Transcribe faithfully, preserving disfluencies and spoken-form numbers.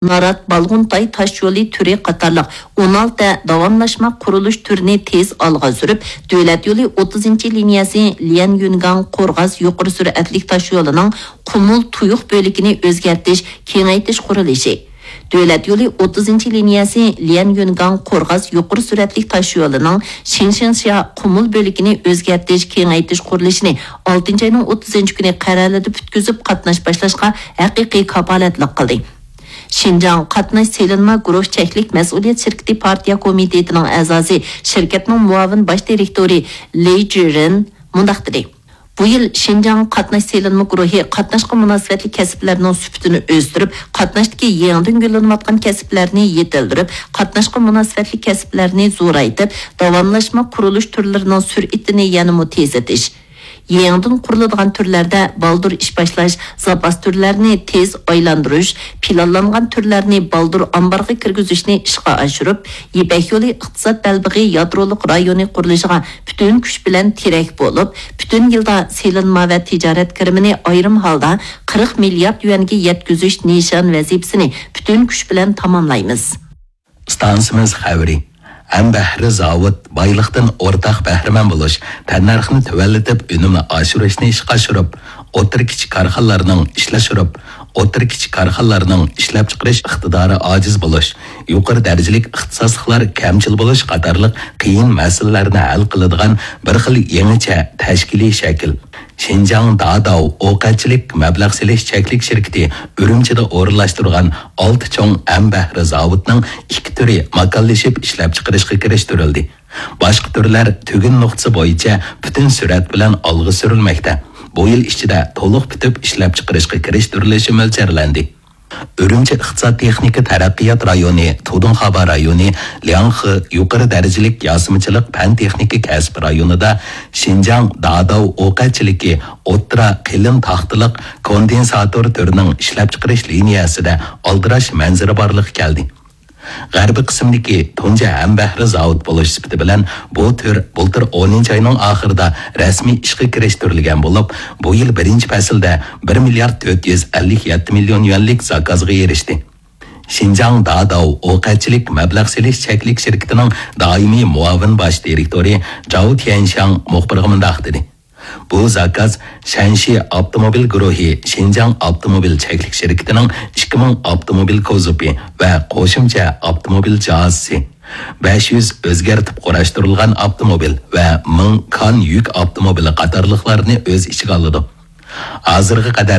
نارات، بالغۇنتاي تاش يولى تۈرى قاتارلىق ئون ئالتە داۋاملاشما قۇرۇلۇش تۈرىنى تېز ئالغا سۈرۈپ، دۆلەت يولى ئوتتۇزىنچى لىنىيەسى ليەنيۈنگاڭ قورغاس يۇقىرى سۈرئەتلىك تاش يولىنىڭ قۇمۇل تۇيۇق بۆلىكىنى ئۆزگەرتىش، كېڭەيتىش قۇرۇلۇشى، دۆلەت يولى ئوتتۇزىنچى لىنىيەسى ليەنيۈنگاڭ قورغاس يۇقىرى سۈرئەتلىك تاش يولىنىڭ شىڭشىڭشيا قۇمۇل بۆلىكىنى ئۆزگەرتىش، كېڭەيتىش قۇرۇلۇشىنى ئالتىنچى ئاينىڭ ئوتتۇزىنچى كۈنى قەرەلىدە پۈتكۈزۈپ، قاتناش باشلاشقا ھەقىقىي كاپالەتلىك قىلدى. شىنجاڭ قاتناش سېلىنما گۇرۇھ چەكلىك مەسئۇلىيەت شىركىتى پارتىيە كومىتېتىنىڭ ئەزاسى، شىركەتنىڭ مۇئاۋىن باش دىرېكتورى لېي جىرېن مۇنداق دېدى: بۇ يىل شىنجاڭ قاتناش سېلىنما گۇرۇھى قاتناشقا مۇناسىۋەتلىك كەسىپلەرنىڭ سۈپىتىنى ئۆستۈرۈپ، قاتناشتىكى يېڭىدىن گۈللىنىۋاتقان كەسىپلەرنى يېتىلدۈرۈپ، قاتناشقا مۇناسىۋەتلىك كەسىپلەرنى زورايتىپ، داۋاملاشما قۇرۇلۇش تۈرلىرىنىڭ سۈرئىتىنى يەنىمۇ تېزلىتىش، يېڭىدىن قۇرۇلىدىغان تۈرلەردە بالدۇر ئىش باشلاش، زاپاس تۈرلەرنى تېز ئايلاندۇرۇش، پىلانلانغان تۈرلەرنى بالدۇر ئامبارغا كىرگۈزۈشنى ئىشقا ئاشۇرۇپ، يىپەك يولى ئىقتىساد بەلبېغى يادرولۇق رايونى قۇرۇلۇشىغا پۈتۈن كۈچ بىلەن تىرەك بولۇپ، پۈتۈن يىلدا سېلىنما ۋە تىجارەت كىرىمىنى ئايرىم ھالدا قىرىق مىليارد يۈەنگە يەتكۈزۈش نىشان ۋەزىپىسىنى پۈتۈن كۈچ بىلەن تاماملايمىز. ئىستانسىمىز خەۋىرى. ھەمبەھرە زاۋۇت بايلىقتىن ئورتاق بەھرىمەن بولۇش، تەننەرخنى تۆۋەنلىتىپ، ئۈنۈمنى ئاشۇرۇشنى ئىشقا ئاشۇرۇپ، ئوتتۇرا، كىچىك كارخانىلارنىڭ ئىشلەشتۈرۈپ، ئوتتۇرا، كىچىك كارخانىلارنىڭ ئىشلەپچىقىرىش ئىقتىدارى ئاجىز بولۇش، يۇقىرى دەرىجىلىك ئىختىساسلىقلار كەمچىل بولۇش قاتارلىق قىيىن مەسىلىلەرنى ھەل قىلىدىغان بىر خىل يېڭىچە تەشكىلىي شەكىل. شىنجاڭ داداۋ ئوقەتچىلىك مەبلەغ سېلىش چەكلىك شىركىتى ئۈرۈمچىدە ئورۇنلاشتۇرغان ئالتە چوڭ ھەمبەھرە زاۋۇتنىڭ ئىككى تۈرى ماكانلىشىپ ئىشلەپچىقىرىشقا كىرىشتۈرۈلدى. باشقا تۈرلەر تۈگۈن نۇقتىسى بويىچە پۈتۈن سۈرئەت بىلەن ئالغا سۈرۈلمەكتە. بۇ يىل ئىچىدە تولۇق پۈتۈپ ئىشلەپچىقىرىشقا كىرىشتۈرۈلۈشى مۆلچەرلەندى. ئۈرۈمچى ئىقتىساد تېخنىكا تەرەققىيات رايونى، تۇدۇڭخابا رايونى، لياڭخې يۇقىرى دەرىجىلىك ياسىمىچىلىق پەن تېخنىكا كەسىپ رايونىدا شىنجاڭ داداۋ ئوقەتچىلىكى ئوتتۇرا قېلىن تاختىلىق كوندېنساتور تۈرىنىڭ ئىشلەپچىقىرىش لىنىيەسىدە ئالدىراش مەنزىرە بارلىققا كەلدى. غەربىي قىسىمدىكى تۇنجى ھەمبەھرە زاۋۇت بولۇش سۈپىتى بىلەن بۇ تۈر بۇلتۇر ئونىنچى ئاينىڭ ئاخىرىدا رەسمىي ئىشقا كىرىشتۈرۈلگەن بولۇپ، بۇ يىل بىرىنچى پەسىلدە بىر مىليارد تۆت يۈز ئەللىك يەتتە مىليون يۈەنلىك زاكازغا ئېرىشتى. شىنجاڭ داداۋ ئوقەتچىلىك مەبلەغ سېلىش چەكلىك شىركىتىنىڭ دائىمىي مۇئاۋىن باش دىرېكتورى جاۋ تيەنشياڭ مۇخبىرغا مۇنداق دېدى: بۇ زاكاز شەنشى ئاپتوموبىل گۇرۇھى شىنجاڭ ئاپتوموبىل چەكلىك شىركىتىنىڭ ئىككى مىڭ ئاپتوموبىل كوزۇپى ۋە قوشۇمچە ئاپتوموبىل جاھازىسى، بەش يۈز ئۆزگەرتىپ قۇراشتۇرۇلغان ئاپتوموبىل ۋە مىڭ كان يۈك ئاپتوموبىلى قاتارلىقلارنى ئۆز ئىچىگە ئالىدۇ. ھازىرغا قەدەر